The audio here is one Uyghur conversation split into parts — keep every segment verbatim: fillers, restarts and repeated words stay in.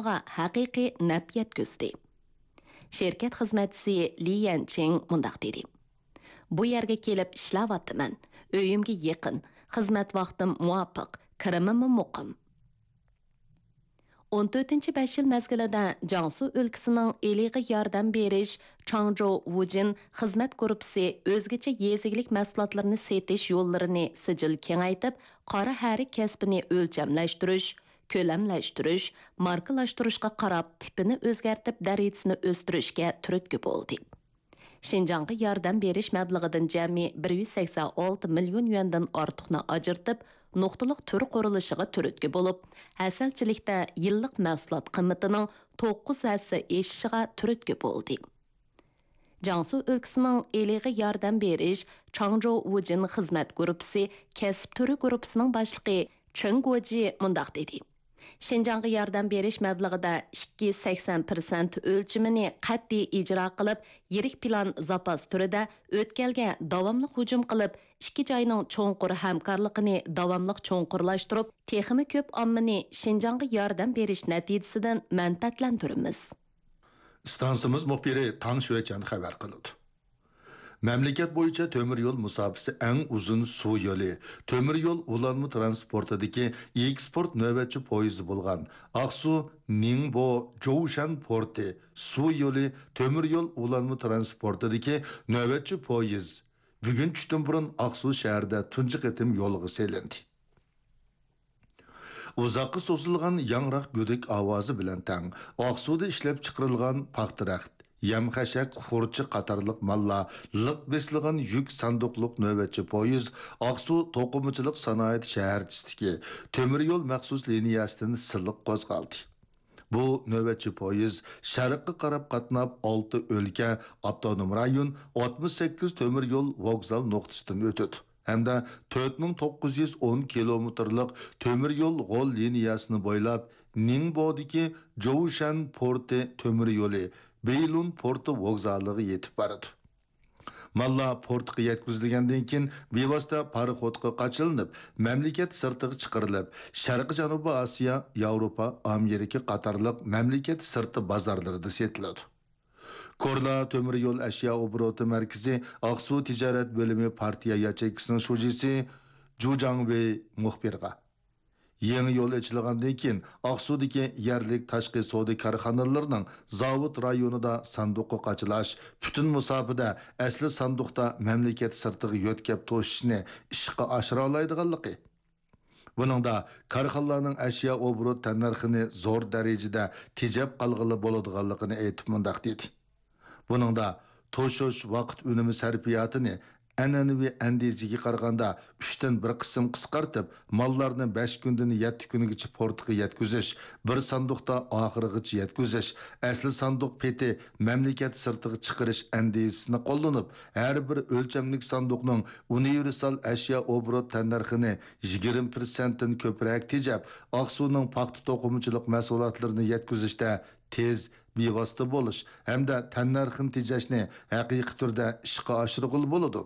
ھەقىقىي نەپ يەتكۈزدى. شىركەت خىزمەتچىسى لى يەنچىڭ مۇنداق دېدى: بۇ يەرگە كېلىپ ئىشلەۋاتىمەن. ئۆيۈمگە يېقىن، خىزمەت ۋاقتىم مۇۋاپىق، كىرىمىممۇ مۇقىم. ئون تۆتىنچى بەش يىل مەزگىلىدە جياڭسۇ ئۆلكىسىنىڭ ئىلىغا ياردەم بېرىش چاڭجو ۋۇجىن خىزمەت گۇرۇپپىسى ئۆزگىچە يېزا ئىگىلىك مەھسۇلاتلىرىنى سېتىش يوللىرىنى سىجىل كېڭەيتىپ، قارا ھەرىك كەسپىنى ئۆلچەملەشتۈرۈش، كۆلەملەشتۈرۈش، ماركىلاشتۇرۇشقا قاراپ تىپىنى ئۆزگەرتىپ دەرىجىسىنى ئۆستۈرۈشكە تۈرتكە بولدى. شىنجاڭغا ياردەم بېرىش مەبلىغىدىن جەمئىي بىر يۈز سەكسەن ئالتە مىليون يۈەندىن ئارتۇقنى ئاجرىتىپ، نۇقتىلىق تۈر قۇرۇلۇشىغا تۈرتكە بولۇپ، ھەسەلچىلىكتە يىللىق مەھسۇلات قىممىتىنىڭ توققۇز ھەسسە ئېشىشىغا تۈرتكە بولدى. جياڭسۇ ئۆلكىسىنىڭ ئىلىغا ياردەم بېرىش چاڭجو ۋۇجىن خىزمەت گۇرۇپپىسى كەسىپ تۈرى گۇرۇپپىسىنىڭ باشلىقى چېڭ گوجى مۇنداق دېدى: شىنجاڭغا ياردەم بېرىش مەبلىغىدە ئىككى سەكسەن پىرسەنت ئۆلچىمىنى قەتئىي ئىجرا قىلىپ، يىرىك پىلان زاپاس تۈرىدە ئۆتكەلگە داۋاملىق ھۇجۇم قىلىپ، ئىككى جاينىڭ چوڭقۇر ھەمكارلىقىنى داۋاملىق چوڭقۇرلاشتۇرۇپ، تېخىمۇ كۆپ ئاممىنى شىنجاڭغا ياردەم بېرىش نەتىجىسىدىن مەنپەئەتلەندۈرىمىز. ئىستانسىمىز مۇخبىرى تاڭ شۈەچەن خەۋەر قىلىدۇ. مەملىكەت بويىچە تۆمۈر يول مۇساپىسى ئەڭ ئۇزۇن سۇ يولى، تۆمۈر يول ئۇلانما تىرانسپورتىدىكى ئېكسپورت نۆۋەتچى پويىزى بولغان ئاقسۇ نىڭبو جوۋشەن پورتى سۇ يولى تۆمۈر يول ئۇلانما تىرانسپورتىدىكى نۆۋەتچى پويىز بۈگۈن چۈشتىن بۇرۇن ئاقسۇ شەھىرىدە تۇنجى قېتىم يولغا سېلىندى. ئۇزاققا سوزۇلغان ياڭراق گۈدۈك ئاۋازى بىلەن تەڭ ئاقسۇدا ئىشلەپچىقىرىلغان پاختا رەخت، يەم-خەشەك، خۇرچە قاتارلىق ماللار لىق بېسىلغان يۈك ساندۇقلۇق نۆۋەتچى پويىز ئاقسۇ توقۇمىچىلىق سانائەت شەھەرچىسىدىكى تۆمۈر يول مەخسۇس لىنىيەسىدىن سىلىق قوزغالدى. بۇ نۆۋەتچى پويىز شەرققە قاراپ قاتناپ، ئالتە ئۆلكە، ئاپتونوم رايون، ئاتمىش سەككىز تۆمۈر يول ۋوگزال نۇقتىسىدىن ئۆتىدۇ ھەمدە تۆت مىڭ توققۇز يۈز ئون كىلومېتىرلىق تۆمۈر يول غول لىنىيەسىنى بويلاپ، نىڭبودىكى جوۋشەن پورتى تۆمۈر يولى بېيلۇن پورتى ۋوگزالىغا يېتىپ بارىدۇ. ماللار پورتقا يەتكۈزۈلگەندىن كېيىن، بىۋاسىتە پاراخوتقا قاچىلىنىپ، مەملىكەت سىرتىغا چىقىرىلىپ، شەرقىي جەنۇبىي ئاسىيا، ياۋروپا، ئامېرىكا قاتارلىق مەملىكەت سىرتى بازارلىرىدا سېتىلىدۇ. كورلا تۆمۈر يول ئەشيا ئوبوروتى مەركىزى ئاقسۇ تىجارەت بۆلۈمى پارتىيە ياچېيكىسىنىڭ شۇجىسى جۇ جاڭۋېي مۇخبىرغا، يېڭى يول ئېچىلغاندىن كېيىن، ئاقسۇدىكى يەرلىك تاشقى سودا كارخانىلىرىنىڭ زاۋۇت رايونىدا ساندۇققا قاچىلاش، پۈتۈن مۇساپىدە ئەسلى ساندۇقتا مەملىكەت سىرتىغا يۆتكەپ توشۇشنى ئىشقا ئاشۇرالايدىغانلىقى، بۇنىڭدا كارخانىلارنىڭ ئەشيا ئوبوروت تەننەرخىنى زور دەرىجىدە تېجەپ قالغىلى بولىدىغانلىقىنى ئېيتىپ مۇنداق دېدى: بۇنىڭدا توشۇش ۋاقىت ئۈنۈمى سەرپىياتىنى ئەنئەنىۋى ئەندىزىگە قارىغاندا ئۈچتىن بىر قىسىم قىسقارتىپ، ماللارنى بەش كۈندىن يەتتە كۈنگىچە پورتقا يەتكۈزۈش، بىر ساندۇقتا ئاخىرىغىچە يەتكۈزۈش، ئەسلى ساندۇق پېتى مەملىكەت سىرتىغا چىقىرىش ئەندىزىسىنى قوللىنىپ، ھەر بىر ئۆلچەملىك ساندۇقنىڭ ئۇنىۋېرسال ئەشيا ئوبوروت تەننەرخىنى يىگىرمە پىرسەنتتىن كۆپرەك تېجەپ، ئاقسۇنىڭ پاختا توقۇمىچىلىق مەھسۇلاتلىرىنى يەتكۈزۈشتە تېز، بىۋاسىتە بولۇش ھەمدە تەننەرخنى تېجەشنى ھەقىقىي تۈردە ئىشقا ئاشۇرغىلى بولىدۇ.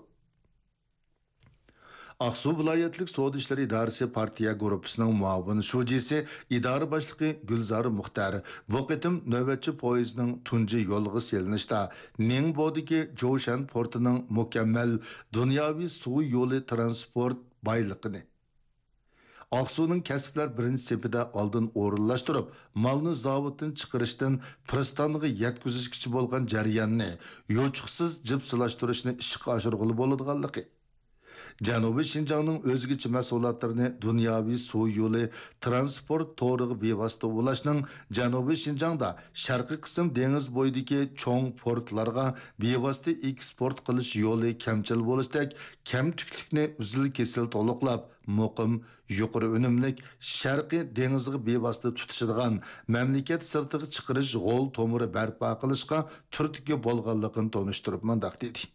ئاقسۇ ۋىلايەتلىك سودا ئىشلىرى ئىدارىسى پارتىيە گۇرۇپپىسىنىڭ مۇئاۋىن شۇجىسى، ئىدارە باشلىقى گۈلزارى مۇختەر بۇ قېتىم نۆۋەتچى پويىزنىڭ تۇنجى يولغا سېلىنىشتا نىڭبودىكى جوشەن پورتىنىڭ مۇكەممەل دۇنياۋى سۇ يولى تىرانسپورت بايلىقىنى، ئاقسۇنىڭ كەسىپلەر بىرىنچى سېپىدە ئالدىن ئورۇنلاشتۇرۇپ، مالنى زاۋۇتتىن چىقىرىشتىن پىرىستانغا يەتكۈزۈشكىچە بولغان جەرياننى يوچۇقسىز جىپسىلاشتۇرۇشنى ئىشقا ئاشۇرغىلى بولىدىغانلىقى، جەنۇبىي شىنجاڭنىڭ ئۆزگىچە مەھسۇلاتلىرىنى دۇنياۋى سۇ يولى تىرانسپورت تورىغا بىۋاسىتە ئۇلاشنىڭ جەنۇبىي شىنجاڭدا شەرقىي قىسىم دېڭىز بويىدىكى چوڭ پورتلارغا بىۋاسىتە ئېكسپورت قىلىش يولى كەمچىل بولۇشتەك كەمتۈكلۈكنى ئۈزۈل-كېسىل تولۇقلاپ، مۇقىم، يۇقىرى ئۈنۈملۈك، شەرقىي دېڭىزغا بىۋاسىتە تۇتىشىدىغان مەملىكەت سىرتىغا چىقىرىش غول تومۇرى بەرپا قىلىشقا تۈرتكە بولغانلىقىنى تونۇشتۇرۇپ مۇنداق دېدى: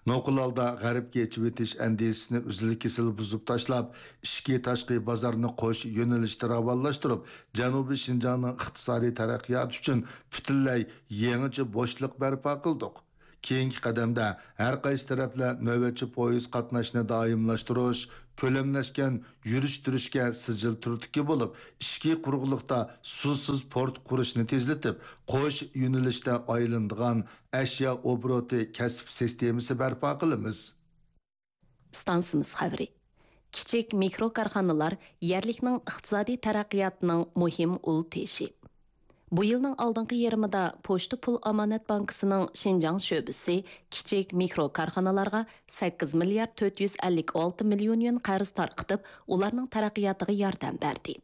نوقۇل ھالدا غەربكە ئېچىۋېتىش ئەندىزىسىنى ئۈزۈل-كېسىل بۇزۇپ تاشلاپ، ئىچكى تاشقى بازارنى قوش يۆنىلىشتە راۋانلاشتۇرۇپ، جەنۇبىي شىنجاڭنىڭ ئىقتىسادىي تەرەققىياتى ئۈچۈن پۈتۈنلەي يېڭىچە بوشلۇق بەرپا قىلدۇق. كېيىنكى قەدەمدە ھەر قايسى تەرەپلەر نۆۋەتچى پويىز قاتناشنى دائىملاشتۇرۇش، كۆلەملەشكەن يۈرۈشتۈرۈشكە سىجىل تۈرتكە بولۇپ، ئىچكى قۇرۇقلۇقتا سۇسىز پورت قۇرۇشنى تېزلىتىپ، قوش يۆنىلىشتە ئايلىنىدىغان ئەشيا ئوبوروتى كەسىپ سىستېمىسى بەرپا قىلىمىز. ئىستانسىمىز خەۋىرى. كىچىك مىكرو كارخانىلار يەرلىكنىڭ ئىقتىسادىي تەرەققىياتىنىڭ مۇھىم ئۇل تېشى. بۇ يىلنىڭ ئالدىنقى يېرىمىدا پوچتا پۇل ئامانەت بانكىسىنىڭ شىنجاڭ شۆبىسى كىچىك مىكرو كارخانىلارغا سەككىز مىليارد تۆت يۈز ئەللىك ئالتە مىليون يۈەن قەرز تارقىتىپ، ئۇلارنىڭ تەرەققىياتىغا ياردەم بەردى.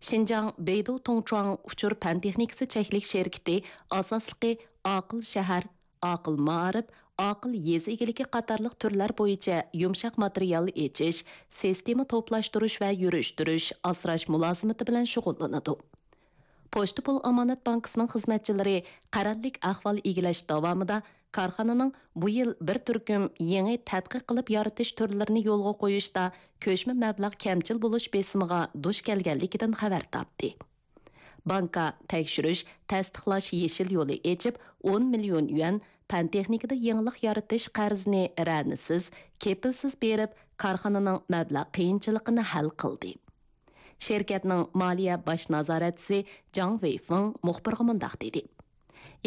شىنجاڭ بېيدۇ تۇڭچۇاڭ ئۇچۇر پەن تېخنىكىسى چەكلىك شىركىتى ئاساسلىقى ئاقىل شەھەر، ئاقىل مائارىپ، ئاقىل يېزا ئىگىلىكى قاتارلىق تۈرلەر بويىچە يۇمشاق ماتېرىيال ئېچىش، سىستېما توپلاشتۇرۇش ۋە يۈرۈشتۈرۈش، ئاسراش مۇلازىمىتى بىلەن شۇغۇللىنىدۇ. پوچتا پۇل ئامانەت بانكىسىنىڭ خىزمەتچىلىرى قەرەللىك ئەھۋال ئىگىلەش داۋامىدا كارخانىنىڭ بۇ يىل بىر تۈركۈم يېڭى تەتقىق قىلىپ يارىتىش تۈرلىرىنى يولغا قويۇشتا كۆچمە مەبلەغ كەمچىل بولۇش بېسىمىغا دۇچ كەلگەنلىكىدىن خەۋەر تاپتى. بانكا تەكشۈرۈش، تەستىقلاش يېشىل يولى ئېچىپ، ئون مىليون يۈەن پەن تېخنىكىدا يېڭىلىق يارىتىش قەرزىنى رەنىسىز، كېپىلسىز بېرىپ، كارخانىنىڭ مەبلەغ قىيىنچىلىقىنى ھەل قىلدى. شىركەتنىڭ مالىيە باش نازارەتچىسى جاڭ ۋېيفېڭ مۇخبىرغا مۇنداق دېدى: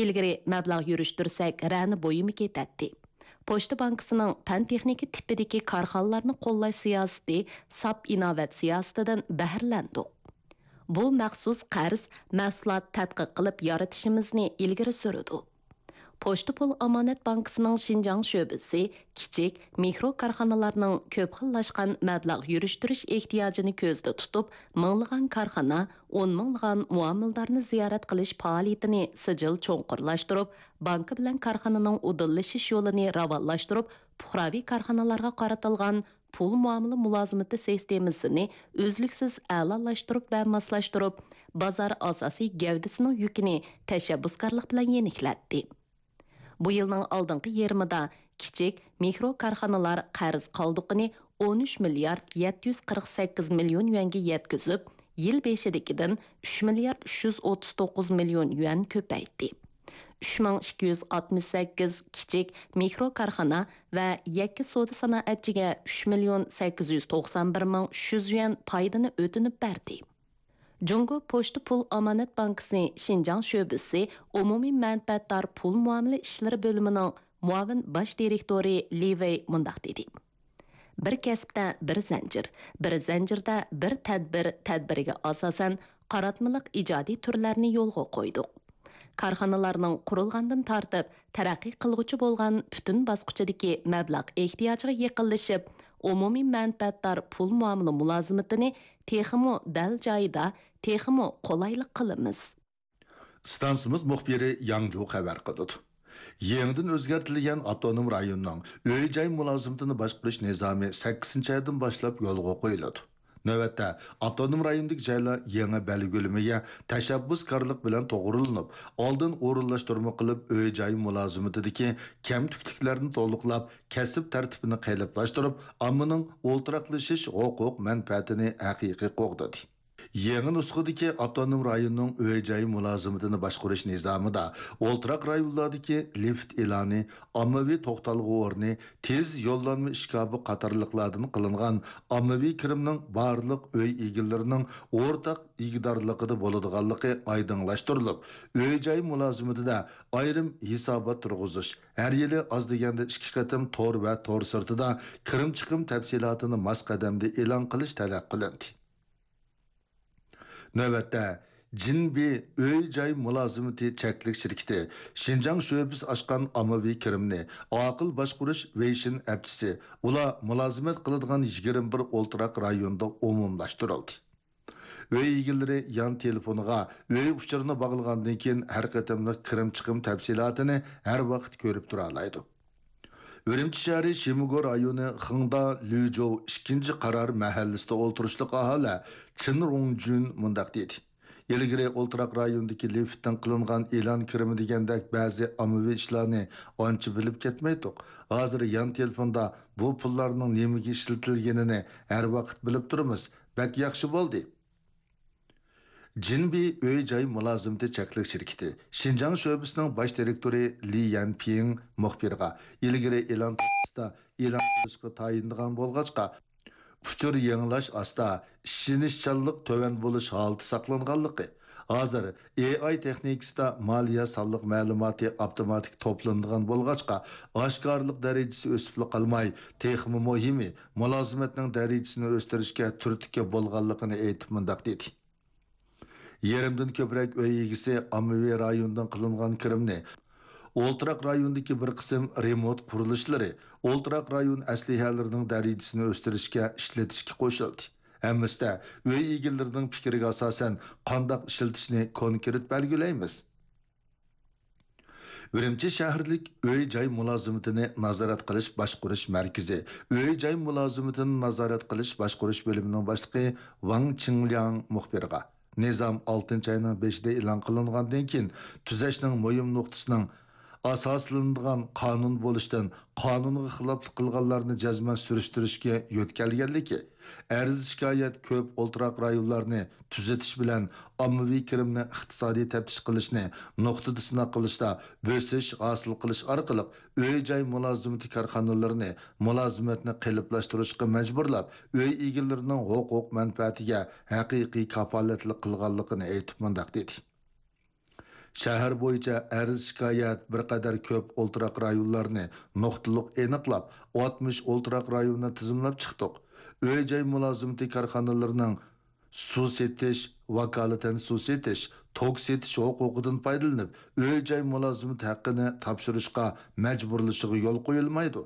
ئىلگىرى مەبلەغ يۈرۈشتۈرسەك، رەنە بۇيۇمى كېتەتتى. پوچتا بانكىسىنىڭ پەن تېخنىكا تىپىدىكى كارخانىلارنى قوللاش سىياسىتى، ساپ ئىناۋەت سىياسىتىدىن بەھرىلەندۇق. بۇ مەخسۇس قەرز مەھسۇلات تەتقىق قىلىپ يارىتىشىمىزنى ئىلگىرى سۈرىدۇ. پوچتا پۇل ئامانەت بانكىسىنىڭ شىنجاڭ شۆبىسى كىچىك، مىكرو كارخانىلارنىڭ كۆپ خىللاشقان مەبلەغ يۈرۈشتۈرۈش ئېھتىياجىنى كۆزدە تۇتۇپ، مىڭلىغان كارخانا، ئون مىڭلىغان مۇئامىلىدارنى زىيارەت قىلىش پائالىيىتىنى سىجىل چوڭقۇرلاشتۇرۇپ، بانكا بىلەن كارخانىنىڭ ئۇدۇللىشىش يولىنى راۋانلاشتۇرۇپ، پۇقراۋى كارخانىلارغا قارىتىلغان پۇل مۇئامىلە مۇلازىمىتى سىستېمىسىنى ئۈزلۈكسىز ئەلالاشتۇرۇپ ۋە ماسلاشتۇرۇپ، بازار ئاساسىي گەۋدىسىنىڭ يۈكىنى تەشەببۇسكارلىق بىلەن يېنىكلەتتى. بۇ يىلنىڭ ئالدىنقى يېرىمىدا كىچىك، مىكرو كارخانىلار قەرز قالدۇقىنى ئون ئۈچ مىليارد يەتتە يۈز قىرىق سەككىز مىليون يۈەنگە يەتكۈزۈپ، يىل بېشىدىكىدىن ئۈچ مىليارد ئۈچ يۈز ئوتتۇز توققۇز مىليون يۈەن كۆپەيتتى. ئۈچ مىڭ ئىككى يۈز ئاتمىش سەككىز كىچىك، مىكرو كارخانا ۋە يەككە سودا سانائەتچىگە ئۈچ مىليون سەككىز يۈز توقسان بىر مىڭ ئۈچ يۈز يۈەن پايدىنى ئۆتۈنۈپ بەردى. جۇڭگو پوچتا پۇل ئامانەت بانكىسى شىنجاڭ شۆبىسى ئومۇمىي مەنپەئەتدار پۇل مۇئامىلە ئىشلىرى بۆلۈمىنىڭ مۇئاۋىن باش دىرېكتورى لى ۋېي مۇنداق دېدى: بىر كەسىپتە بىر زەنجىر، بىر زەنجىردە بىر تەدبىر تەدبىرىگە ئاساسەن قاراتمىلىق ئىجادىي تۈرلەرنى يولغا قويدۇق. كارخانىلارنىڭ قۇرۇلغاندىن تارتىپ تەرەققىي قىلغۇچى بولغان پۈتۈن باسقۇچىدىكى مەبلەغ ئېھتىياجىغا يېقىنلىشىپ، ئومۇمىي مەنپەئەتدار پۇل مۇئامىلە مۇلازىمىتىنى تېخىمۇ دەل جايىدا، تېخىمۇ قولايلىق قىلىمىز. ئىستانسىمىز مۇخبىرى ياڭجۇ خەۋەر قىلىدۇ. يېڭىدىن ئۆزگەرتىلگەن ئاپتونوم رايوننىڭ ئۆي-جاي مۇلازىمىتىنى باشقۇرۇش نىزامى سەككىزىنچى ئايدىن باشلاپ يولغا قويۇلىدۇ. نۆۋەتتە، ئاپتونوم رايوندىكى جايلار يېڭى بەلگىلىمىگە تەشەببۇسكارلىق بىلەن توغرىلىنىپ، ئالدىن ئورۇنلاشتۇرما قىلىپ، ئۆي-جاي مۇلازىمىتىدىكى كەمتۈكلۈكلەرنى تولۇقلاپ، كەسىپ تەرتىپىنى قېلىپلاشتۇرۇپ، ئاممىنىڭ ئولتۇراقلىشىش ھوقۇق مەنپەئەتىنى ھەقىقىي قوغدىدى. يېڭى نۇسخىدىكى ئاپتونوم رايوننىڭ ئۆي-جاي مۇلازىمىتىنى باشقۇرۇش نىزامىدا ئولتۇراق رايونلاردىكى لىفت ئېلانى، ئاممىۋى توختالغۇ ئورنى، تېز يوللانما ئىشكاپى قاتارلىقلاردىن قىلىنغان ئاممىۋى كىرىمنىڭ بارلىق ئۆي ئىگىلىرىنىڭ ئورتاق ئىگىدارلىقىدا بولىدىغانلىقى ئايدىڭلاشتۇرۇلۇپ، ئۆي-جاي مۇلازىمىتىدە ئايرىم ھېسابات تۇرغۇزۇش، ھەر يىلى ئاز دېگەندە ئىككى قېتىم تور ۋە تور سىرتىدا كىرىم-چىقىم تەپسىلاتىنى ماس قەدەمدە ئېلان قىلىش تەلەپ قىلىندى. نۆۋەتتە، جىنبى ئۆي-جاي مۇلازىمىتى چەكلىك شىركىتى شىنجاڭ شۆبىسى ئاچقان ئاممىۋى كىرىمنى ئاقىل باشقۇرۇش ۋېيشىن ئەپچىسى ئۇلار مۇلازىمەت قىلىدىغان يىگىرمە بىر ئولتۇراق رايوندا ئومۇملاشتۇرۇلدى. ئۆي ئىگىلىرى يان تېلېفونىغا ئۆي ئۇچۇرىنى باغلىغاندىن كېيىن، ھەر قېتىملىق كىرىم-چىقىم تەپسىلاتىنى ھەر ۋاقىت كۆرۈپ تۇرالايدۇ. ئۈرۈمچى شەھىرى شىمىگو رايونى خېڭدا لۈجوۋ ئىككىنچى قارار مەھەللىسىدە ئولتۇرۇشلۇق ئاھالە چېن رۇڭجۈن مۇنداق دېدى: ئىلگىرى ئولتۇراق رايوندىكى لىفتتىن قىلىنغان ئېلان كىرىمى دېگەندەك بەزى ئاممىۋى ئىشلارنى ئانچە بىلىپ كەتمەيتتۇق. ھازىر يان تېلېفوندا بۇ پۇللارنىڭ نېمىگە ئىشلىتىلگىنىنى ھەر ۋاقىت بىلىپ تۇرىمىز. بەك ياخشى بولدى. جىنبى ئۆي-جاي مۇلازىمىتى چەكلىك شىركىتى شىنجاڭ شۆبىسىنىڭ باش دىرېكتورى لى يەنپىڭ مۇخبىرغا، ئىلگىرى ئېلان تاختىسىدا ئېلان قىلىشقا تايىنىدىغان بولغاچقا، ئۇچۇر يېڭىلاش ئاستا، ئىشىنىشچانلىق تۆۋەن بولۇش ھالىتى ساقلانغانلىقى، ھازىر ئېي ئاي تېخنىكىسىدا مالىيە سانلىق مەلۇماتى ئاپتوماتىك توپلىنىدىغان بولغاچقا، ئاشكارىلىق دەرىجىسى ئۆسۈپلا قالماي، تېخىمۇ مۇھىمى، مۇلازىمەتنىڭ دەرىجىسىنى ئۆستۈرۈشكە تۈرتكە بولغانلىقىنى ئېيتىپ مۇنداق دېدى. يېرىمدىن كۆپرەك ئۆي ئىگىسى ئاممىۋى رايوندىن قىلىنغان كىرىمنى ئولتۇراق رايوندىكى بىر قىسىم رېمونت قۇرۇلۇشلىرى، ئولتۇراق رايون ئەسلىھەلىرىنىڭ دەرىجىسىنى ئۆستۈرۈشكە ئىشلىتىشكە قوشۇلدى. ھەممىسىدە ئۆي ئىگىلىرىنىڭ پىكرىگە ئاساسەن قانداق ئىشلىتىشنى كونكرېت بەلگىلەيمىز. ئۈرۈمچى شەھەرلىك ئۆي-جاي مۇلازىمىتىنى نازارەت قىلىش باشقۇرۇش مەركىزى ئۆي-جاي مۇلازىمىتىنى نازارەت قىلىش باشقۇرۇش بۆلۈمىنىڭ باشلىقى ۋاڭ چىڭلياڭ مۇخبىرغا، نىزام ئالتىنچى ئاينىڭ بېشىدا ئېلان قىلىنغاندىن كېيىن تۈزەشنىڭ مۇھىم نۇقتىسىنىڭ ئاساسلىنىدىغان قانۇن بولۇشتىن، قانۇنغا خىلاپلىق قىلغانلارنى جەزمەن سۈرۈشتۈرۈشكە يۆتكەلگەنلىكى، ئەرز-شىكايەت كۆپ ئولتۇراق رايونلارنى تۈزىتىش بىلەن ئاممىۋى كىرىمنى ئىقتىسادىي تەپتىش قىلىشنى نۇقتىدا سىناق قىلىشتا بۆسۈش ھاسىل قىلىش ئارقىلىق ئۆي-جاي مۇلازىمىتى كارخانىلىرىنى مۇلازىمەتنى قېلىپلاشتۇرۇشقا مەجبۇرلاپ، ئۆي ئىگىلىرىنىڭ ھوقۇق مەنپەئەتىگە ھەقىقىي كاپالەتلىك قىلغانلىقىنى ئېيتىپ مۇنداق دېدى. شەھەر بويىچە ئەرز-شىكايەت بىر قەدەر كۆپ ئولتۇراق رايونلارنى نۇقتىلىق ئېنىقلاپ، ئاتمىش ئولتۇراق رايوننى تىزىملاپ چىقتۇق. ئۆي-جاي مۇلازىمىتى كارخانىلىرىنىڭ سۇ سېتىش، ۋاكالىتەن سۇ سېتىش، توك سېتىش ھوقۇقىدىن پايدىلىنىپ، ئۆي-جاي مۇلازىمىتى ھەققىنى تاپشۇرۇشقا مەجبۇرلىشىغا يول قويۇلمايدۇ.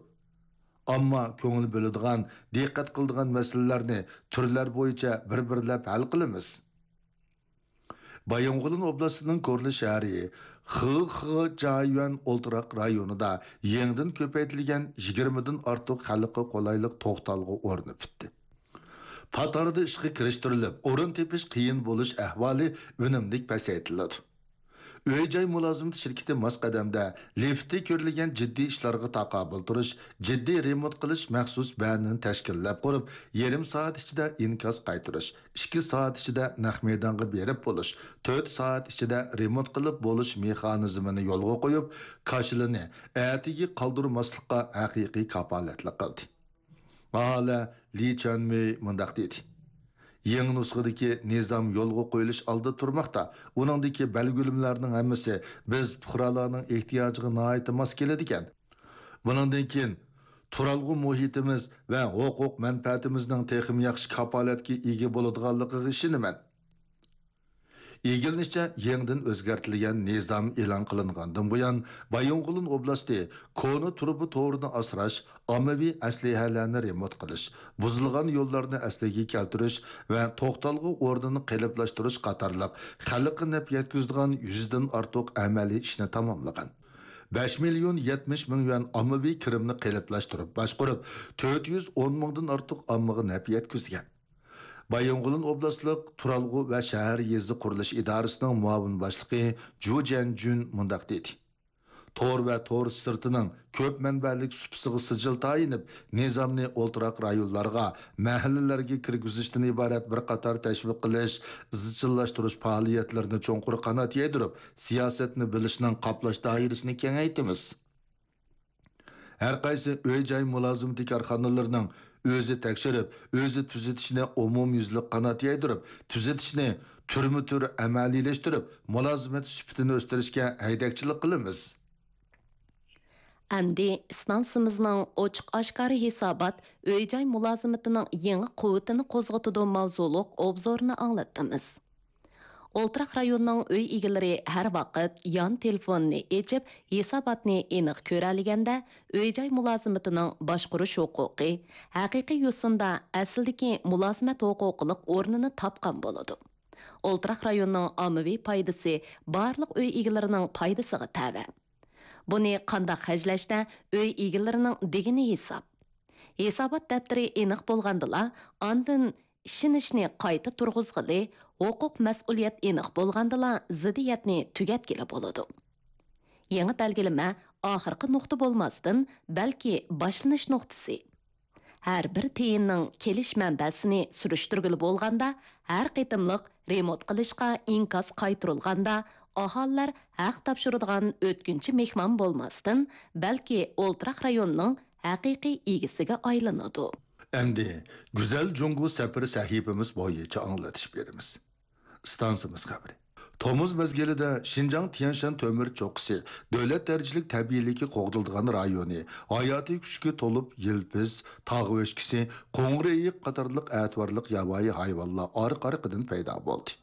ئامما كۆڭۈل بۆلىدىغان، دىققەت قىلىدىغان مەسىلىلەرنى تۈرلەر بويىچە بىر-بىرلەپ ھەل قىلىمىز. بايىنغولىن ئوبلاستىنىڭ كورلا شەھىرى خېخېجيۈەن ئولتۇراق رايونىدا يېڭىدىن كۆپەيتىلگەن يىگىرمىدىن ئارتۇق خەلققە قولايلىق توختالغۇ ئورنى پۈتتى. پات ئارىدا ئىشقا كىرىشتۈرۈلۈپ، ئورۇن تېپىش قىيىن بولۇش ئەھۋالى ئۈنۈملۈك پەسەيتىلىدۇ. ئۆي-جاي مۇلازىمىتى شىركىتى ماس قەدەمدە لىفتى كۆرۈلگەن جىددىي ئىشلارغا تاقابىل تۇرۇش، جىددىي رېمونت قىلىش مەخسۇس بەنىنى تەشكىللەپ قۇرۇپ، يېرىم سائەت ئىچىدە ئىنكاس قايتۇرۇش، ئىككى سائەت ئىچىدە نەق مەيدانغا بېرىپ بولۇش، تۆت سائەت ئىچىدە رېمونت قىلىپ بولۇش مېخانىزمىنى يولغا قويۇپ، كاشىلىنى ئەتىگە قالدۇرماسلىققا ھەقىقىي كاپالەتلىك قىلدى. ئاھالە لى چۈەنمېي مۇنداق دېدى: يېڭى نۇسخىدىكى نىزام يولغا قويۇلۇش ئالدىدا تۇرماقتا. ئۇنىڭدىكى بەلگىلىمىلەرنىڭ ھەممىسى بىز پۇقرالارنىڭ ئېھتىياجىغا ناھايىتى ماس كېلىدىكەن. بۇنىڭدىن كېيىن تۇرالغۇ مۇھىتىمىز ۋە ھوقۇق مەنپەئەتىمىزنىڭ تېخىمۇ ياخشى كاپالەتكە ئىگە بولىدىغانلىقىغا ئىشىنىمەن. ئىگىلىنىشىچە، يېڭىدىن ئۆزگەرتىلگەن نىزام ئېلان قىلىنغاندىن بۇيان، بايىنغولىن ئوبلاستى كونا تۇرۇبا تورىنى ئاسراش، ئاممىۋى ئەسلىھەلەرنى رېمونت قىلىش، بۇزۇلغان يوللارنى ئەسلىگە كەلتۈرۈش ۋە توختالغۇ ئورنىنى قېلىپلاشتۇرۇش قاتارلىق خەلققە نەپ يەتكۈزىدىغان يۈزدىن ئارتۇق ئەمەلىي ئىشنى تاماملىغان. بەش مىليون يەتمىش مىڭ يۈەن ئاممىۋى كىرىمنى قېلىپلاشتۇرۇپ باشقۇرۇپ، تۆت يۈز ئون مىڭدىن ئارتۇق ئاممىغا نەپ يەتكۈزگەن. بايىنغولىن ئوبلاستلىق تۇرالغۇ ۋە شەھەر يېزا قۇرۇلۇش ئىدارىسىنىڭ مۇئاۋىن باشلىقى جۇ جيەنجۈن مۇنداق دېدى: تور ۋە تور سىرتىنىڭ كۆپ مەنبەلىك سۇپىسىغا سىجىل تايىنىپ، نىزامنى ئولتۇراق رايونلارغا، مەھەللىلەرگە كىرگۈزۈشتىن ئىبارەت بىر قاتار تەشۋىق قىلىش، ئىزچىللاشتۇرۇش پائالىيەتلىرىنى چوڭقۇر قانات يايدۇرۇپ، سىياسەتنى بىلىشنىڭ قاپلاش دائىرىسىنى كېڭەيتىمىز. ھەر قايسى ئۆي-جاي مۇلازىمىتى كارخانىلىرىنىڭ ئۆزى تەكشۈرۈپ، ئۆزى تۈزىتىشىنى ئومۇميۈزلۈك قانات يايدۇرۇپ، تۈزىتىشنى تۈرمە-تۈر ئەمەلىيلەشتۈرۈپ، مۇلازىمەت سۈپىتىنى ئۆستۈرۈشكە ھەيدەكچىلىك قىلىمىز. ئەمدى ئىستانسىمىزنىڭ ئوچۇق-ئاشكارا ھېسابات، ئۆي-جاي مۇلازىمىتىنىڭ يېڭى قۇۋۋىتىنى قوزغىتىدۇ ماۋزۇلۇق ئوبزورنى ئاڭلاتتىمىز. ئولتۇراق رايوننىڭ ئۆي ئىگىلىرى ھەر ۋاقىت يان تېلېفوننى ئېچىپ، ھېساباتنى ئېنىق كۆرەلىگەندە، ئۆي-جاي مۇلازىمىتىنىڭ باشقۇرۇش ھوقۇقى ھەقىقىي يوسۇندا ئەسلىدىكى مۇلازىمەت ھوقۇقلۇق ئورنىنى تاپقان بولىدۇ. ئولتۇراق رايوننىڭ ئاممىۋى پايدىسى بارلىق ئۆي ئىگىلىرىنىڭ پايدىسىغا تەۋە. بۇنى قانداق خەجلەشتە ئۆي ئىگىلىرىنىڭ دېگىنى ھېساب. ھېسابات دەپتىرى ئېنىق بولغاندىلا، ئاندىن ئىشىنىشنى قايتا تۇرغۇزغىلى، ھوقۇق مەسئۇلىيەت ئېنىق بولغاندىلا زىددىيەتنى تۈگەتكىلى بولىدۇ. يېڭى بەلگىلىمە ئاخىرقى نۇقتا بولماستىن، بەلكى باشلىنىش نۇقتىسى. ھەر بىر تىيىننىڭ كېلىش مەنبەسىنى سۈرۈشتۈرگىلى بولغاندا، ھەر قېتىملىق رېمونت قىلىشقا ئىنكاس قايتۇرۇلغاندا، ئاھالىلەر ھەق تاپشۇرىدىغان ئۆتكۈنچى مېھمان بولماستىن، بەلكى ئولتۇراق رايوننىڭ ھەقىقىي ئىگىسىگە ئايلىنىدۇ. ئەمدى گۈزەل جۇڭگو سەپىرى سەھىپىمىز بويىچە ئاڭلىتىش بېرىمىز. ئىستانسىمىز خەۋىرى. تومۇز مەزگىلىدە شىنجاڭ تيەنشان تۆمۈر چوققىسى دۆلەت دەرىجىلىك تەبىئىيلىكى قوغدىلىدىغان رايونى ھاياتىي كۈچكە تولۇپ يىلپىز، تاغ ئۆچكىسى، قوڭۇر ئېيىق قاتارلىق ئەتىۋارلىق ياۋايى ھايۋانلار ئارقا-ئارقىدىن پەيدا بولدى.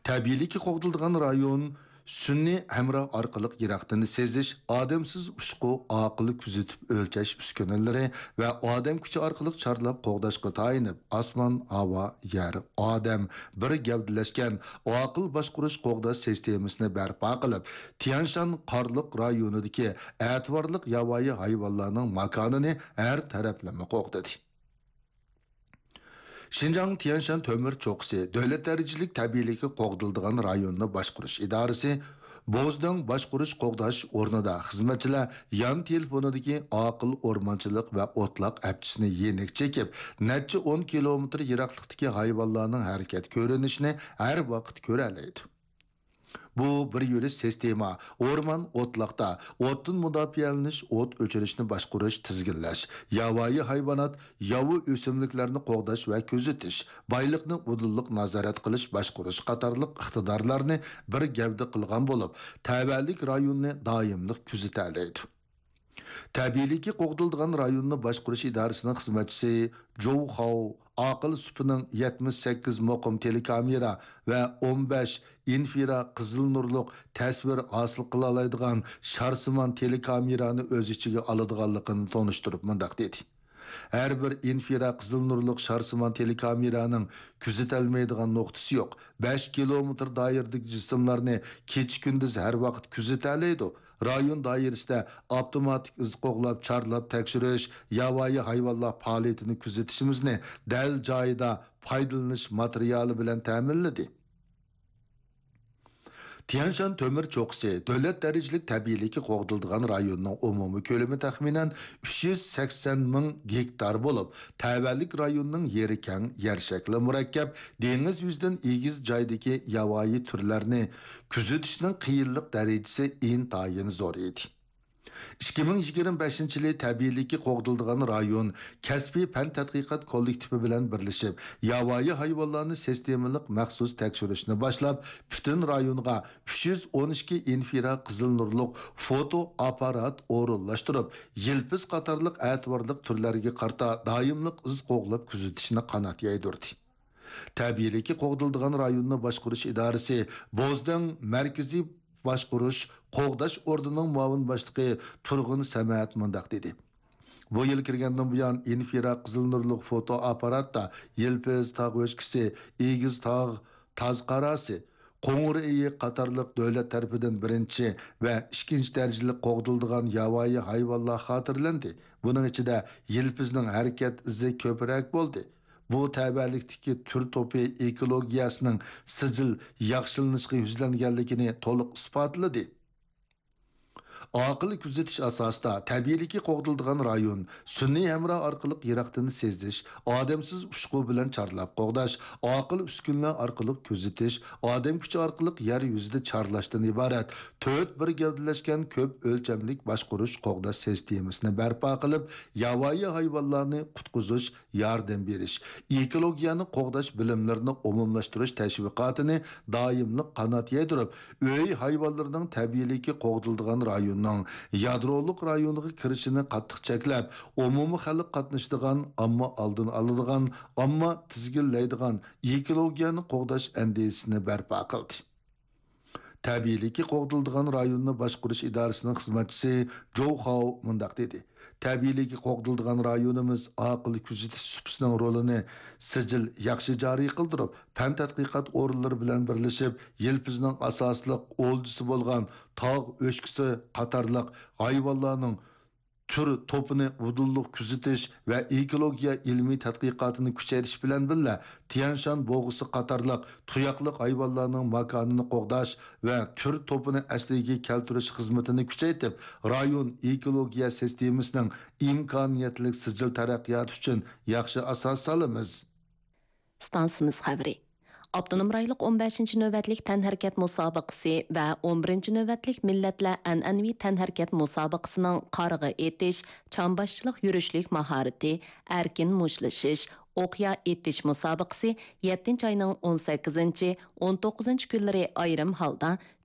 تەبىئىيلىكى قوغدىلىدىغان رايون سۈنئىي ھەمراھ ئارقىلىق يىراقتىن سېزىش، ئادەمسىز ئۇچقۇ، ئاقىل كۆزىتىپ ئۆلچەش ئۈسكۈنىلىرى ۋە ئادەم كۈچى ئارقىلىق چارلاپ قوغداشقا تايىنىپ، ئاسمان، ھاۋا، يەر، ئادەم بىر گەۋدىلەشكەن ئاقىل باشقۇرۇش قوغداش سىستېمىسىنى بەرپا قىلىپ، تيەنشان قارلۇق رايونىدىكى ئەتىۋارلىق ياۋايى ھايۋانلارنىڭ ماكانىنى ھەر تەرەپلىمە قوغدىدى. شىنجاڭ تيەنشان تۆمۈر چوققىسى دۆلەت دەرىجىلىك تەبىئىيلىكى قوغدىلىدىغان رايوننى باشقۇرۇش ئىدارىسى بوزداڭ باشقۇرۇش قوغداش ئورنىدا خىزمەتچىلەر يان تېلېفونىدىكى ئاقىل ئورمانچىلىق ۋە ئوتلاق ئەپچىسىنى يېنىك چېكىپ، نەچچە ئون كىلومېتىر يىراقلىقتىكى ھايۋانلارنىڭ ھەرىكەت كۆرۈنۈشىنى ھەر ۋاقىت كۆرەلەيدۇ. بۇ بىر يۈرۈش سىستېما ئورمان، ئوتلاقتا ئوتتىن مۇداپىئەلىنىش، ئوت ئۆچۈرۈشنى باشقۇرۇش، تىزگىنلەش، ياۋايى ھايۋانات، ياۋا ئۆسۈملۈكلەرنى قوغداش ۋە كۆزىتىش، بايلىقنى ئۇدۇللۇق نازارەت قىلىش، باشقۇرۇش قاتارلىق ئىقتىدارلارنى بىر گەۋدە قىلغان بولۇپ، تەۋەلىك رايوننى دائىملىق كۆزىتەلەيدۇ. تەبىئىيلىكى قوغدىلىدىغان رايوننى باشقۇرۇش ئىدارىسىنىڭ خىزمەتچىسى جوۋ خاۋ ئاقىل سۈپىنىڭ يەتمىش سەككىز مۇقىم تېلېكامېرا ۋە ئون بەش ئىنفرا قىزىل نۇرلۇق تەسۋىر ھاسىل قىلالايدىغان شارسىمان تېلېكامېرانى ئۆز ئىچىگە ئالىدىغانلىقىنى تونۇشتۇرۇپ مۇنداق دېدى: ھەر بىر ئىنفرا قىزىل نۇرلۇق شارسىمان تېلېكامېرانىڭ كۆزىتەلمەيدىغان نۇقتىسى يوق. بەش كىلومېتىر دائىرىدىكى جىسىملارنى كېچە-كۈندۈز ھەر ۋاقىت كۆزىتەلەيدۇ. رايون دائىرىسىدە ئاپتوماتىك ئىز قوغلاپ، چارلاپ تەكشۈرۈش، ياۋايى ھايۋانلار پائالىيىتىنى كۆزىتىشىمىزنى دەل جايىدا پايدىلىنىش ماتېرىيالى بىلەن تەمىنلىدى. تيەنشان تۆمۈر چوققىسى دۆلەت دەرىجىلىك تەبىئىيلىكى قوغدىلىدىغان رايوننىڭ ئومۇمىي كۆلىمى تەخمىنەن ئۈچ يۈز سەكسەن مىڭ گېكتار بولۇپ، تەۋەلىك رايوننىڭ يېرى كەڭ، يەر شەكلى مۇرەككەپ، دېڭىز يۈزىدىن ئېگىز جايدىكى ياۋايى تۈرلەرنى كۆزىتىشنىڭ قىيىنلىق دەرىجىسى ئىنتايىن زور ئىدى. ئىككى مىڭ يىگىرمە بەشىنچى يىلى تەبىئىيلىكى قوغدىلىدىغان رايون كەسپىي پەن تەتقىقات كوللېكتىپى بىلەن بىرلىشىپ، ياۋايى ھايۋانلارنى سىستېمىلىق مەخسۇس تەكشۈرۈشنى باشلاپ، پۈتۈن رايونغا ئۈچ يۈز ئون ئىككى ئىنفرا قىزىل نۇرلۇق فوتو ئاپپارات ئورۇنلاشتۇرۇپ، يىلپىز قاتارلىق ئەتىۋارلىق تۈرلەرگە قارىتا دائىملىق ئىز قوغلاپ كۆزىتىشنى قانات يايدۇردى. تەبىئىيلىكى قوغدىلىدىغان رايوننى باشقۇرۇش ئىدارىسى بوزدەڭ مەركىزىي باشقۇرۇش قوغداش ئورنىنىڭ مۇئاۋىن باشلىقى تۇرغۇن سەمەت مۇنداق دېدى: بۇ يىل كىرگەندىن بۇيان، ئىنفرا قىزىل نۇرلۇق فوتو ئاپپاراتتا يىلپىز تاغ ئۆچكىسى، ئېگىز تاغ تاز قاراسى، قوڭۇر ئېيىق قاتارلىق دۆلەت تەرىپىدىن بىرىنچى ۋە ئىككىنچى دەرىجىلىك قوغدىلىدىغان ياۋايى ھايۋانلار خاتىرىلەندى. بۇنىڭ ئىچىدە يىلپىزنىڭ ھەرىكەت ئىزى كۆپرەك بولدى. بۇ تەۋەلىكتىكى تۈر توپى ئېكولوگىيەسىنىڭ سىجىل ياخشىلىنىشقا يۈزلەنگەنلىكىنى تولۇق ئىسپاتلىدى. ئاقىل كۆزىتىش ئاساسىدا تەبىئىيلىكى قوغدىلىدىغان رايون سۈنئىي ھەمراھ ئارقىلىق يىراقتىن سېزىش، ئادەمسىز ئۇچقۇ بىلەن چارلاپ قوغداش، ئاقىل ئۈسكۈنىلەر ئارقىلىق كۆزىتىش، ئادەم كۈچى ئارقىلىق يەر يۈزىدە چارلاشتىن ئىبارەت تۆت بىر گەۋدىلەشكەن كۆپ ئۆلچەملىك باشقۇرۇش قوغداش سىستېمىسىنى بەرپا قىلىپ، ياۋايى ھايۋانلارنى قۇتقۇزۇش، ياردەم بېرىش، ئېكولوگىيەنى قوغداش بىلىملىرىنى ئومۇملاشتۇرۇش تەشۋىقاتىنى دائىملىق قانات يايدۇرۇپ، ئۆي ھايۋانلىرىنىڭ تەبىئىيلىكى قوغدىلىدىغان رايوننىڭ يادرولۇق رايونىغا كىرىشىنى قاتتىق چەكلەپ، ئومۇمىي خەلق قاتنىشىدىغان، ئامما ئالدىنى ئالىدىغان، ئامما تىزگىنلەيدىغان ئېكولوگىيەنى قوغداش ئەندىزىسىنى بەرپا قىلدى. تەبىئىيلىكى قوغدىلىدىغان رايوننى باشقۇرۇش ئىدارىسىنىڭ خىزمەتچىسى جوۋ خاۋ مۇنداق دېدى: تەبىئىيلىكى قوغدىلىدىغان رايونىمىز ئاقىل كۆزىتىش سۇپىسىنىڭ رولىنى سىجىل ياخشى جارى قىلدۇرۇپ، پەن تەتقىقات ئورۇنلىرى بىلەن بىرلىشىپ، يىلپىزنىڭ ئاساسلىق ئولجىسى بولغان تاغ ئۆچكىسى قاتارلىق ھايۋانلارنىڭ تۈر توپىنى ئۇدۇللۇق كۆزىتىش ۋە ئېكولوگىيە ئىلمىي تەتقىقاتىنى كۈچەيتىش بىلەن بىللە، تيەنشان بوغۇسى قاتارلىق تۇياقلىق ھايۋانلارنىڭ ماكانىنى قوغداش ۋە تۈر توپىنى ئەسلىگە كەلتۈرۈش خىزمىتىنى كۈچەيتىپ، رايون ئېكولوگىيە سىستېمىسىنىڭ ئىمكانىيەتلىك سىجىل تەرەققىياتى ئۈچۈن ياخشى ئاساس سالىمىز. ئىستانسىمىز خەۋىرى. ئاپتونوم رايونلۇق ئون بەشىنچى نۆۋەتلىك تەنھەرىكەت مۇسابىقىسى ۋە ئون بىرىنچى نۆۋەتلىك مىللەتلەر ئەنئەنىۋى تەنھەرىكەت مۇسابىقىسىنىڭ قارىغا ئېتىش، چامباشچىلىق يۈرۈشلۈك ماھارىتى، ئەركىن مۇشتلىشىش، ئوقيا ئېتىش مۇسابىقىسى يەتتىنچى ئاينىڭ ئون سەككىزىنچى، ئون توققۇزىنچى كۈنلىرى ئايرىم ھالدا